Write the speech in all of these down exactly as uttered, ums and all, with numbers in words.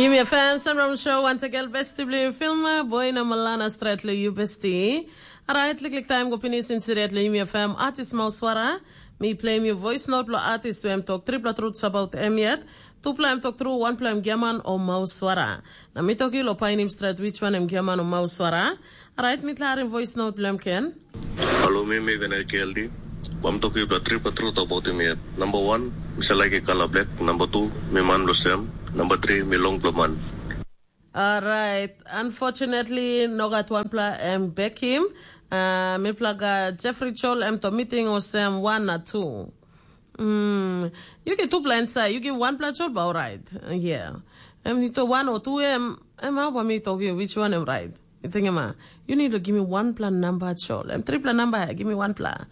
Yumi F M Sunroom Show, once again, besti bilong yu Filma, boy na Malana stret lo yu besti. Alright, liklik time go pinis insidet lo Yumi F M artist Mauswara. Mi play mi voice note lo artist who em talk triple truths about em yet. Tupla em talk through, one pla em giaman o Mauswara. Na mi talk you lo painim stret which one em giaman o Mauswara. Alright, mi klarim voice note bilong em ken. Halo, mi mi Venel K L D. Bam toki bla tripa tru tok bautim yet. Number one, mi sa laik i kala black. Number two, mi man blo sem. Number three, mi long blo man. Alright, unfortunately, no gat wanpela em bekim. Uh, mipela gat Jeffrey Chol em to meeting osem one na two. Mm, you get two blind side, you give one blood shot, but all right. Uh, yeah. Em ni to one or two em em how about me talk you which one am right? You think am I? You need to give me one plan number shot. I'm three plan number. Give me one plan.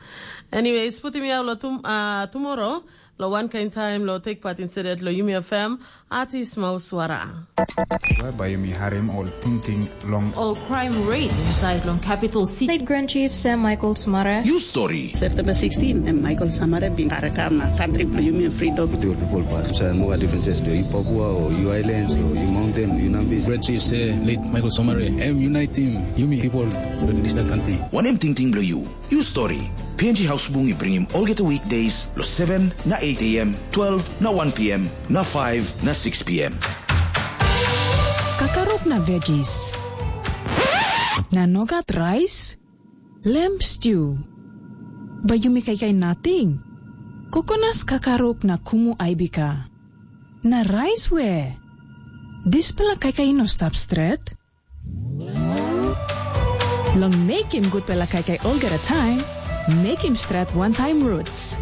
Anyways, put me out lo tum, uh, tomorrow. Lo one kind time lo take part in said lo Yumi F M. Artist Mauswara. Whereby you may harem all thinking long. All crime rate inside long capital city. Late Grand Chief Sam Michael Sumara. You story. September sixteen, em Michael Samara bin karakam na country bilong yumi freedom. With your people pass. So no differences do you Papua or you islands or you mountain, you Nambis. Great chief say late Michael Somare, em unite team, yumi people in this country. One em tingting bilong you. You story. P N G House Bung i bringim olgeta weekdays lo seven na eight a m, twelve na one p m, na five na six p m. Kakaruk na veggies. Na nogat rice? Lamb stew. Bai yumi kaikai nating. Kokonas kakaruk na kumu aibika. Na rice we? Dispela kaikai no stap stret. Long mekim gutpela kaikai olgeta taim, mekim stret wantaim roots.